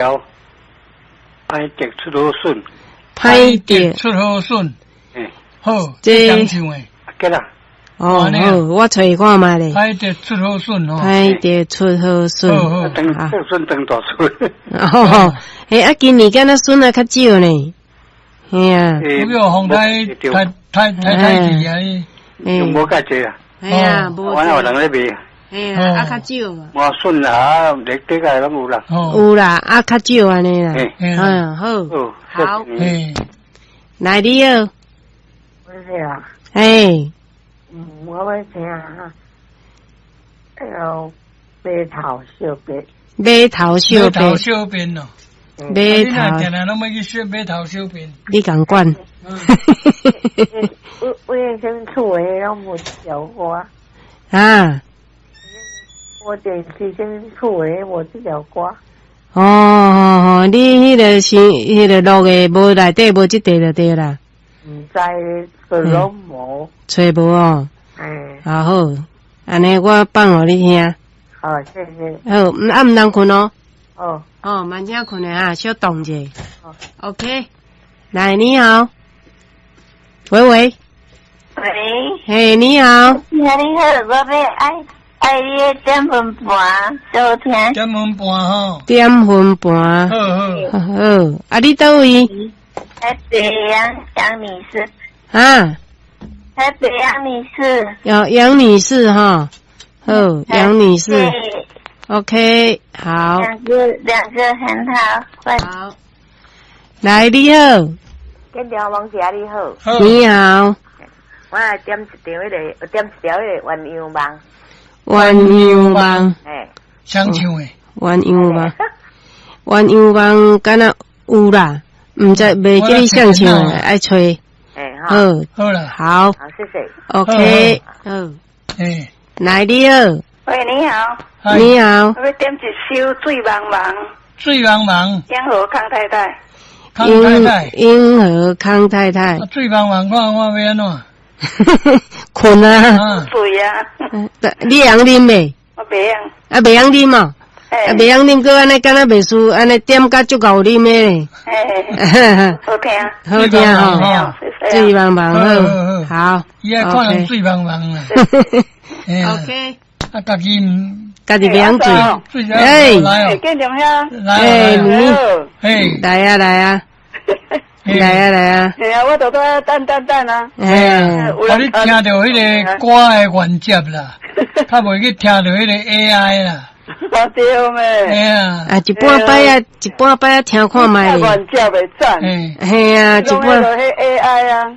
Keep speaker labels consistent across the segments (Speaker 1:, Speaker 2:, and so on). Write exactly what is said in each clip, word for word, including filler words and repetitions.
Speaker 1: 條歹得出好筍，
Speaker 2: 歹得
Speaker 3: 出好筍，
Speaker 1: 嘿，
Speaker 3: 好，
Speaker 2: 這
Speaker 3: 這唱的，
Speaker 1: 啊，啦，
Speaker 2: 哦，
Speaker 3: 按呢啊
Speaker 2: 好，我揣看覓咧。
Speaker 3: 歹得出好筍吼，
Speaker 2: 歹得出好筍，
Speaker 3: 好好
Speaker 1: 當
Speaker 2: 啊
Speaker 1: 這筍當大筍，
Speaker 2: 哦，嘿，啊，今年敢若筍啊較少呢，嘿啊，
Speaker 3: 有叫風太太太太太去啊，
Speaker 2: 嘿，
Speaker 1: 無介濟啊，
Speaker 2: 嘿啊，無
Speaker 1: 我有人咧賣，
Speaker 2: 嘿啊，啊較少啊，
Speaker 1: 無筍啊，綠地個攏有啦，
Speaker 3: 哦，
Speaker 2: 有啦，啊較少按呢啦，
Speaker 1: 嘿，
Speaker 2: 嗯，好，
Speaker 1: 好，
Speaker 2: 好
Speaker 3: 嘿，
Speaker 2: 來你好，
Speaker 4: 我是啊，
Speaker 2: 嘿，
Speaker 4: 嗯，我欲聽哈，那个馬頭小白，
Speaker 2: 馬頭小
Speaker 3: 馬頭
Speaker 2: 白，
Speaker 3: 小便咯，
Speaker 2: 馬
Speaker 3: 你若
Speaker 2: 頭，
Speaker 3: 定定攏欲去說馬頭小便，
Speaker 2: 你共管，
Speaker 4: 我我以前厝的攏無這條歌，
Speaker 2: 啊，
Speaker 4: 我電視先厝的無這條歌，
Speaker 2: 哦哦哦，你彼个是彼个錄的無內底無這塊就對啦，
Speaker 4: 毋知就攏無，
Speaker 2: 揣無哦，
Speaker 4: 嗯，
Speaker 2: 啊好，按呢我放予你聽。
Speaker 4: 好，謝謝，
Speaker 2: 好，啊毋通睏哦。
Speaker 4: 哦，
Speaker 2: 哦，慢請睏的啊，小動者。
Speaker 4: 好
Speaker 2: OK，來，你好，喂喂，
Speaker 5: 喂，
Speaker 2: 嘿，你好，
Speaker 5: 你好，你好，我欲愛愛你的點分盤收聽，
Speaker 3: 點分盤吼，
Speaker 2: 點分盤，
Speaker 3: 好好，
Speaker 2: 好，啊，你佗位？
Speaker 5: 台北楊楊女士，
Speaker 2: 啊，
Speaker 5: 台北楊女士，
Speaker 2: 楊楊女士哈，好，楊女士
Speaker 5: 對，，OK，
Speaker 2: 好，
Speaker 5: 兩個兩個很好，快
Speaker 2: 好，來，你好，
Speaker 6: 建良王姐你好，
Speaker 3: 好，
Speaker 2: 你好，
Speaker 6: 我來點一張彼个，點一條彼个鴛鴦夢，
Speaker 2: 鴛鴦夢，
Speaker 6: 嘿，
Speaker 3: 誰唱的？
Speaker 2: 鴛鴦夢，鴛鴦夢，敢若有啦，毋知袂記你誰唱的，愛揣，
Speaker 6: 嘿，
Speaker 2: 好，
Speaker 3: 好啦，
Speaker 2: 好
Speaker 6: 好，謝謝。
Speaker 2: ，OK，好，
Speaker 3: 嘿，
Speaker 2: 來，你好，
Speaker 7: 喂，你好，
Speaker 3: 嗨
Speaker 2: 你好，
Speaker 7: 我欲點一首《水茫茫》，
Speaker 3: 水茫茫，
Speaker 7: 英和康太太。
Speaker 3: 康太太，
Speaker 2: 英和康太太
Speaker 3: 啊，水茫茫，看我欲按怎？
Speaker 2: 睏啊，
Speaker 3: 啊，
Speaker 7: 水啊，
Speaker 2: 你會曉啉袂？
Speaker 7: 我袂曉。
Speaker 2: 啊，袂曉啉哦，啊，袂曉啉，閣按呢敢若袂輸，按呢點甲足𠢕啉的咧，
Speaker 7: 嘿，好聽，
Speaker 2: 好聽吼，水茫茫好，好，
Speaker 3: 伊愛看人水茫茫啦。
Speaker 2: OK，
Speaker 3: 啊，家己毋，
Speaker 2: 家己袂曉
Speaker 3: 水，
Speaker 2: 哎，
Speaker 3: 來哦，
Speaker 7: 建良兄，
Speaker 3: 來
Speaker 2: 哎，你，
Speaker 3: 嘿，
Speaker 2: 來啊來啊，來啊來啊，
Speaker 7: 嘿啊，我都在等等等啊。
Speaker 2: 哎，
Speaker 3: 啊，你聽著彼个歌的原接啦，較袂去聽著彼个 A I 啦。
Speaker 7: 啊對咩？
Speaker 3: 嘿啊，
Speaker 2: 啊，一半擺啊，一半擺啊，聽看覓。
Speaker 7: 原接會讚。
Speaker 2: 嘿啊，一半。
Speaker 7: 攏彼 A I 啊。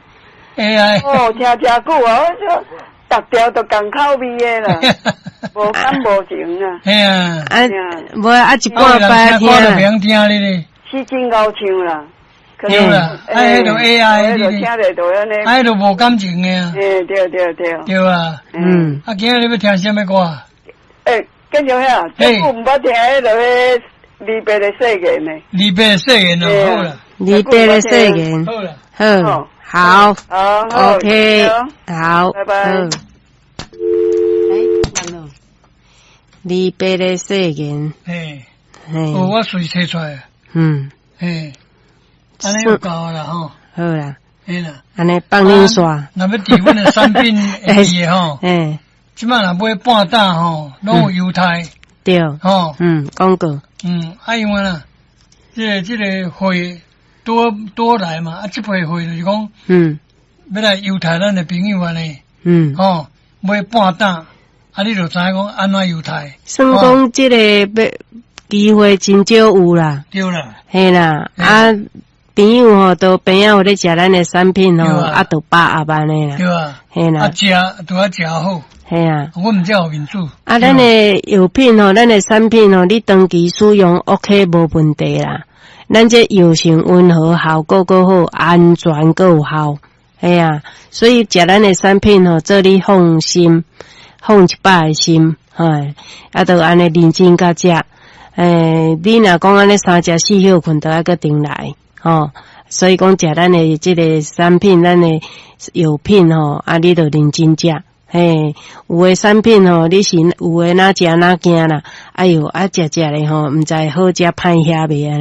Speaker 3: A I。
Speaker 7: 哦，聽誠久啊，我說逐條都仝口味的啦，無感無情啊。
Speaker 3: 嘿啊。
Speaker 2: 啊，無啊，一半擺聽。
Speaker 3: 我就袂曉聽你咧。
Speaker 7: 是真𠢕唱啦。
Speaker 3: 對啦，啊，彼就 A I
Speaker 7: 你聽著就按呢。
Speaker 3: 啊，彼就無感情的啊。
Speaker 7: 嘿，對對對。
Speaker 3: 對啊。
Speaker 2: 嗯。
Speaker 3: 啊，今仔日欲聽啥物歌？
Speaker 7: 欸，建良兄，這久毋捌聽彼个離別的誓言呢？
Speaker 3: 離別的誓言哦，好啦。
Speaker 2: 離別的誓言，
Speaker 3: 好啦，
Speaker 2: 好，好
Speaker 7: 好
Speaker 2: ，OK，好，
Speaker 7: 拜拜。
Speaker 2: 欸，完了。離別的誓言，
Speaker 3: 嘿，
Speaker 2: 嘿，
Speaker 3: 哦，我隨揣出來。
Speaker 2: 嗯，
Speaker 3: 嘿，按呢有夠啦吼。
Speaker 2: 好啦，
Speaker 3: 嘿啦，
Speaker 2: 按呢放恁煞。
Speaker 3: 若欲佇阮的產品會記的吼，
Speaker 2: 嘿，
Speaker 3: 這擺若買半打吼，攏有優待。
Speaker 2: 對，
Speaker 3: 吼，
Speaker 2: 嗯，廣告。
Speaker 3: 嗯，啊因為啦，這个這个會多多來嘛，啊這批會就是講，
Speaker 2: 嗯，
Speaker 3: 欲來優待咱的朋友按呢，
Speaker 2: 嗯，
Speaker 3: 吼，買半打，啊你就知影講按怎優待。
Speaker 2: 算講這个欲機會真少有啦。
Speaker 3: 對啦。
Speaker 2: 嘿啦，啊朋友吼都邊仔有咧食咱的產品吼，啊，就把握按呢啦。
Speaker 3: 對啊。
Speaker 2: 嘿啦。
Speaker 3: 啊食都愛食好。
Speaker 2: 嘿啊。
Speaker 3: 我毋才有面子。
Speaker 2: 啊，咱的藥品吼，咱的產品吼，你長期使用 OK 無問題啦。咱這藥性溫和，效果閣好，安全閣有效。嘿啊，所以食咱的產品吼，做你放心，放一百个心，嘿，啊，就按呢認真共食。欸，你若講按呢三食四歇睏，就愛閣重來，吼。所以講食咱的這个產品，咱的藥品吼，啊，你就認真食。嘿，有的產品吼，你是有的若食若驚啦，哎喲，啊食食咧吼，毋知好食歹遐袂按呢。